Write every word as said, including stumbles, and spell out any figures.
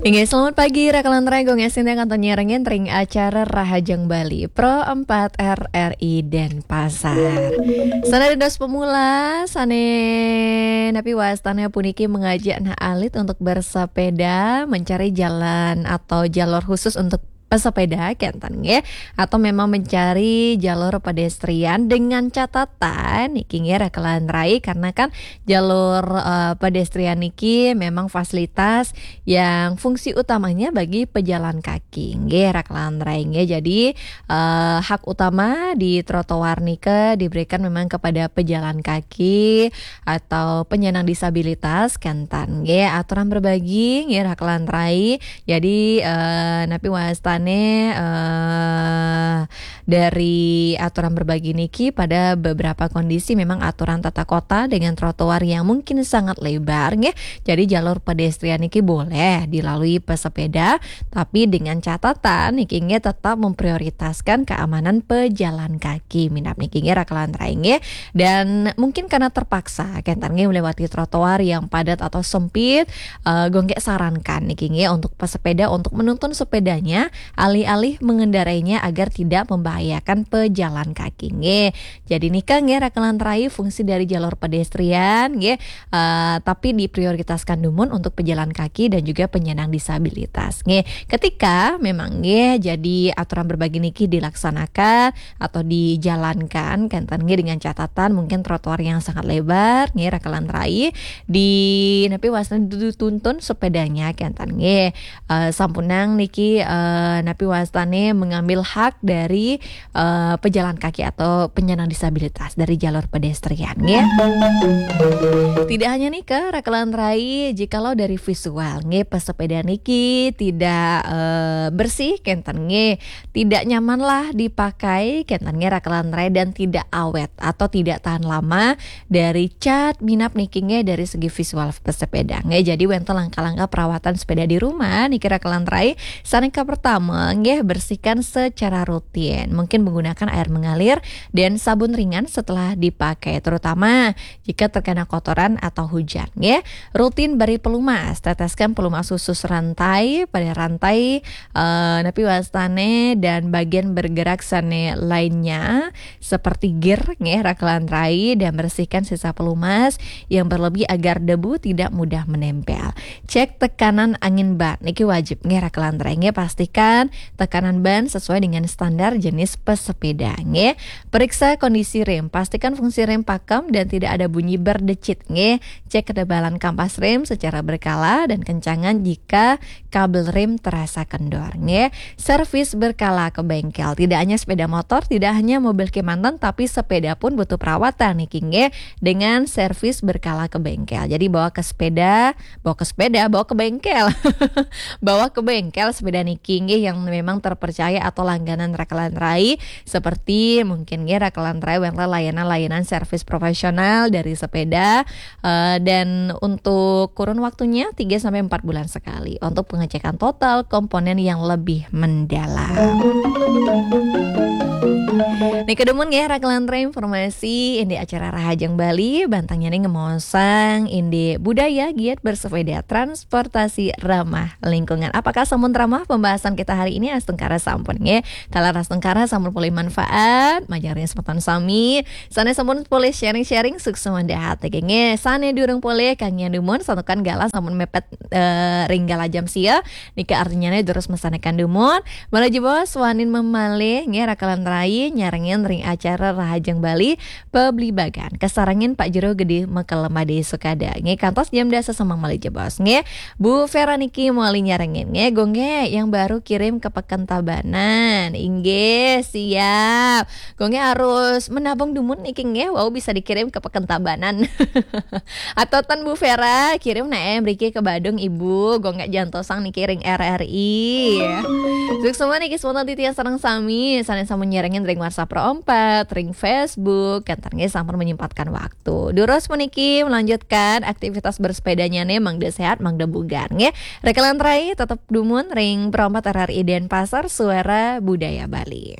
Inggih, selamat pagi, Raka lan Rai, Gung Esin yang kanton nyerengin ring acara Rahajeng Bali, Pro empat R R I Denpasar. Sané dados pemula, sané napi wastané puniki mengajak anak alit untuk bersepeda, mencari jalan atau jalur khusus untuk pesepeda, kénten nggih, atau memang mencari jalur pedestrian dengan catatan niki nggih, Raka lan Rai, karena kan jalur, eh, pedestrian niki memang fasilitas yang fungsi utamanya bagi pejalan kaki nggih, Raka lan Rai nggih. Jadi, eh, hak utama di trotoar nika diberikan memang kepada pejalan kaki atau penyandang disabilitas, kénten nggih, aturan berbagi nggih, Raka lan Rai. Jadi, eh, napi wastané, eh, dari aturan berbagi niki, pada beberapa kondisi memang aturan tata kota dengan trotoar yang mungkin sangat lebar nggih. Jadi jalur pedestrian niki boleh dilalui pesepeda, tapi dengan catatan niki nggih, tetap memprioritaskan keamanan pejalan kaki. Minab niki nggih, Raka lan Rai nggih. Dan mungkin karena terpaksa kénten nggih melewati trotoar yang padat atau sempit, eh, Gung Esin sarankan niki nggih untuk pesepeda untuk menuntun sepedanya alih-alih mengendarainya agar tidak membahayakan pejalan kaki nggih. Jadi nika nggih, Raka lan Rai, fungsi dari jalur pedestrian nggih, eh, tapi diprioritaskan dumun untuk pejalan kaki dan juga penyandang disabilitas nggih. Ketika memang nggih jadi aturan berbagi niki dilaksanakan atau dijalankan, kénten nggih, dengan catatan mungkin trotoar yang sangat lebar nggih, Raka lan Rai, di napi wastané dituntun sepedanya, kénten nggih. Eh, sampunang niki, eh, napi wastané mengambil hak dari, eh, pejalan kaki atau penyandang disabilitas dari jalur pedestrian nggih. Tidak hanya nika, Raka lan Rai, jikalau dari visual nggih, pesepeda niki tidak, eh, bersih, kénten nggih, tidak nyaman lah dipakai, kénten nggih, Raka lan Rai, dan tidak awet atau tidak tahan lama dari cat minab niki nggih, dari segi visual pesepeda nggih. Jadi wénten langkah-langkah perawatan sepeda di rumah niki, Raka lan Rai. Sané kapertama nggih, bersihkan secara rutin. Mungkin menggunakan air mengalir dan sabun ringan setelah dipakai, terutama jika terkena kotoran atau hujan nggih. Rutin beri pelumas, teteskan pelumas khusus rantai, pada rantai, eh, napi wastané dan bagian bergerak sané lainnya seperti gear nggih, Raka lan Rai, dan bersihkan sisa pelumas yang berlebih agar debu tidak mudah menempel. Cek tekanan angin ban niki wajib nggih, Raka lan Rai nggih, pastikan tekanan ban sesuai dengan standar jenis pesepeda nggih. Periksa kondisi rem, pastikan fungsi rem pakem dan tidak ada bunyi berdecit nggih. Cek ketebalan kampas rem secara berkala dan kencangan jika kabel rem terasa kendor nggih. Servis berkala ke bengkel. Tidak hanya sepeda motor, tidak hanya mobil kémanten, tapi sepeda pun butuh perawatan niki nggih, dengan servis berkala ke bengkel. Jadi bawa ke sepeda, bawa ke sepeda, bawa ke bengkel. Bawa ke bengkel sepeda niki nggih yang memang terpercaya atau langganan, Raka lan Rai, seperti mungkin nggih, Raka lan Rai, wénten layanan-layanan servis profesional dari sepeda, eh, dan untuk kurun waktunya tiga sampai empat bulan sekali untuk pengecekan total komponen yang lebih mendalam. Nika dumun nggih, Raka lan Rai, informasi indik acara Rahajeng Bali, bantangnya nih ngemaosang indik budaya giat bersepeda, transportasi ramah lingkungan. Apakah sampun ramah pembahasan kita hari ini? Astungkara sampun nggih. Taler astungkara sampun polih manfaat, majeng ring semeton sami. Sané sampun polih sharing-sharing, suksma dahat nggih. Sané durung polih, kangiang dumun, santukan galah sampun mepet, eh, ring galah jam sia. Nika artinya nih durus masanekan dumun. Malih jebos, wantah mamalih nggih, Raka lan Rai, nyarengin ring acara Rahajeng Bali, pabligbagan kasarengin Pak Jero Gedé Mekel Madé Sukada nggih, kantos jam dasa semeng malih jebos nggih. Bu Vera niki malih nyarengin nggih, Gung nggih, yang baru kirim ke Peken Tabanan. Inggih, siap. Gung nggih harus menabung dumun niki nggih, wau bisa dikirim ke Peken Tabanan. Atau ten Bu Vera, kirim naé mriki ke Badung Ibu, Gung nggih jantosang niki ring R R I. Suksma niki semeton titiang sareng sami, sané sampun nyarengin ring WhatsApp Pro empat, ring Facebook, kénten nggih sampun menyempatkan waktu. Durus puniki melanjutkan aktivitas bersepedanya nih, mangda sehat, mangda bugar nggih. Raka lan Rai, tetep dumun ring Pro empat R R I Denpasar, Suara Budaya Bali.